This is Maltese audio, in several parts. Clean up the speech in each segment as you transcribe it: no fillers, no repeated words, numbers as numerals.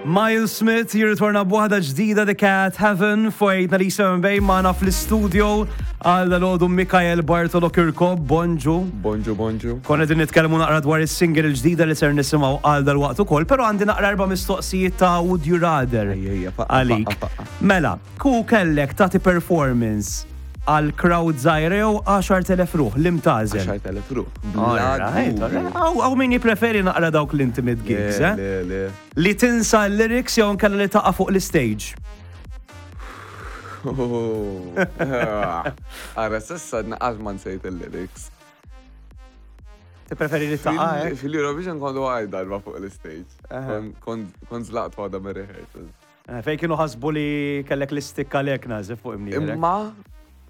Miles Smith jirritorna b'waħda ġdida The Cat Heaven fuq 897 Bay magħna fl-istudio għal dalodu Mikael Bartolo Kirkop, bonġu. Bonġu, bonġu. Konna din nitkellmu naqra dwar is-single il-ġdida li ser nisimgħu għal dal-waqt ukoll, però għandi naqra erba' mistoqsijiet ta' Would You Rather għalik. Mela, ku kellek tagħti performance għal crowd żgħira jew 10,000 ruħ li mtażel? 10,000 ruħ. Hawn min jippreferi naqra dawk l-intimate gigs, eh? Le, le. Li tinsa l-lyrics jew nkella li taqa' fuq l-istage? Ara, s'issa naqas ma nsejt il-lyrics. Tippreferi li taqa' eh? Fil-Eurovision kont waqajt darba fuq l-istage. Kont zlaqt waħda mir-rehearsals. Eh, fejn kienu ħasbu li kellek l-istikka lek nażif fuq imnierek. Imma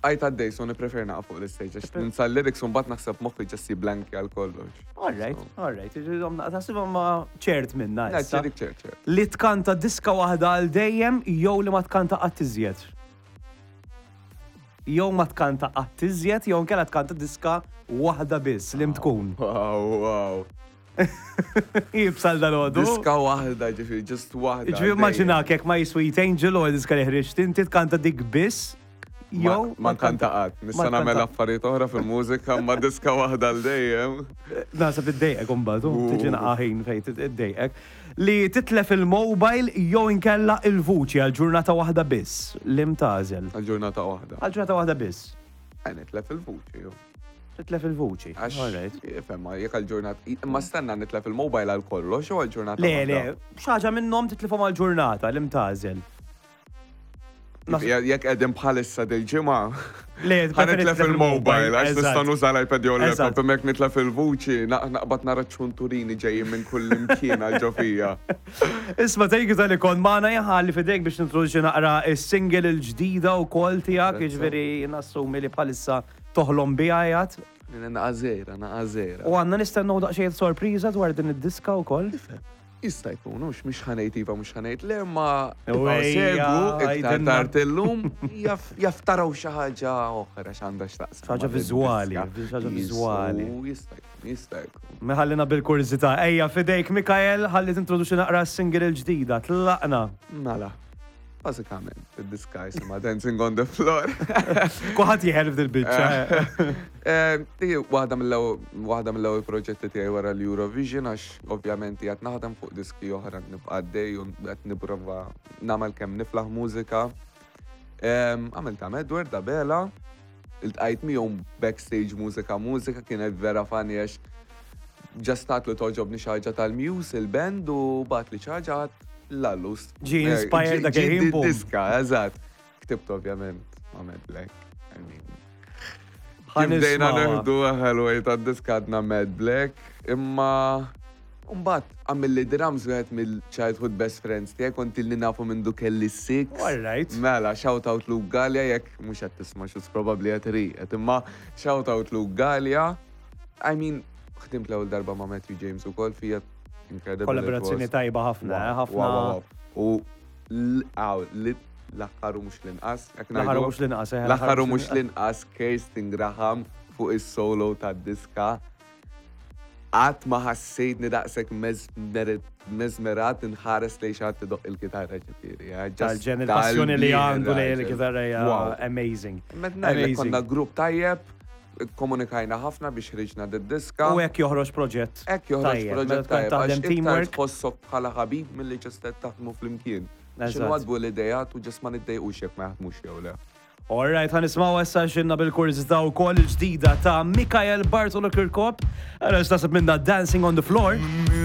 għajt għaddej, so niprefer naqa' fuq l-istage, għax ninsa l-lyrics u mbagħad naħseb moħħi ġessi blanki għal kollox. All right, all right, taħsibhom ma ċert minna. Ċert, ċert, ċert. Li tkanta diska waħda għal dejjem jew li ma tkanta qatt iżjed. Jew ma tkanta qatt iżjed jew nkella tkanta diska waħda biss li tkun. Wow, wow. Jibsal dal-għodu. Diska waħda, ġifiri, just waħda. Ġifiri, immaġinak jek ma Sweet Angel u diska li ħriġt inti tkanta dik biss. Jew. Ma nkanta qatt. Nista' nagħmel affarijiet oħra fil-mużika, ma diska waħda l dejjem. Nasab iddejqek imbagħad, tiġi naqaħin fejn iddejqek. Li titlef il-mobile jew inkella il-vuċi għal ġurnata waħda biss, li mtażel. Għal ġurnata waħda. Għal ġurnata waħda biss. Nitlef il-vuċi, jew. Titlef il-vuċi. Għax, ifhem, jekk għal-ġurnata, imma stenna nitlef il-mobile għal kollox u għal-ġurnata. Le, le, xaġa minnhom titlifhom għal-ġurnata li mtażel. Jekk qegħdin bħalissa dil-ġimgħa. Le, nitlef il-mobile, għax nista' nuża l-iPad jew l-laptop, imma jekk nitlef il-vuċi, naqbad nara ċunturini ġejjin minn kull imkien għal ġofija. Isma' thank you tal-li kont magħna jħalli fidejk biex nintroduċi naqra is-single il-ġdida wkoll tiegħek, jiġifieri nassumi li bħalissa Toħlom biha qiegħed? Naqa' żgħira, naqa' żgħira. U għandna nistennew daqsxejn sorpriża dwar din id-diska wkoll? Jista' jkun, hux mhux ħa ngħid iva mhux ħa ngħid le, imma ibqgħu segwu iktar tard illum jaf taraw xi ħaġa oħra x'għandha x'taqsam. Xi ħaġa viżwali, xi ħaġa viżwali. Jista' jkun, jista' jkun. Ħallina bil-kurżità. Ejja f'idejk Mikael ħalli tintroduċi naqra s-single il-ġdida. Tlaqna. Mela. Bażikament, id-diska jisimha Dancing on the Floor. Kuħat jieħel f'dil biċċa. Eh, waħda mill-ewwel proġetti tiegħi wara l-Eurovision għax ovvjament qiegħed naħdem fuq diski oħra nibqa' għaddej u qed nipprova nagħmel kemm niflaħ mużika. Għamilt ta' Edward Abela, iltqajt miegħu backstage mużika mużika kienet vera funny għax just għatlu toġobni xi ħaġa tal-Muse il-band u bagħatli xi ħaġa għat l-allus. Ġi eh, inspired dak il-ħin. Diska, eżatt. Ktibt ovvjament ma' Mad Black. I mean. Bdejna neħdu ħelwej ta' diska għadna Mad Black, imma Umbat, għamilli drums wieħed mill-childhood best friends tiegħi kont ilni nafu minn du kelli six. All right. Mela, shout out Luke Gallia, jekk mhux qed tisma' xus probabbli qed riqet, imma shout out Luke Gallia. I mean, ħdimt l-ewwel darba ma' Matthew James ukoll fija incredible. Kollaborazzjoni tajba ħafna, eh, ħafna. U l-aħħar u mhux l-inqas. L-aħħar u mhux l-inqas, eh, l-aħħar u mhux l-inqas Kirsten Graham fuq is-solo tad-diska. Qatt ma ħassejtni daqshekk mesmerat inħares lejn xi ħadd idoqq il-kitarra ġifieri. Eh, Tal-ġen il-passjoni li għandu lejn il-kitarra hija amazing. Amazing. Konna grupp tajjeb, komunikajna ħafna biex ħriġna d-diska. U hekk joħroġ proġett. Hekk joħroġ proġett tajjeb. Taħdem teamwork. Tħossok bħala ħabib milli ġast taħdmu flimkien. X'inwadbu l-idejat u ġast ma niddejqux jekk ma jaħdmux jew le. Alright, ħa nismaw issa xinna bil-kurżità wkoll il-ġdida ta' Mikael Bartolo Kirkop. Għara x'tasib minna Dancing on the Floor.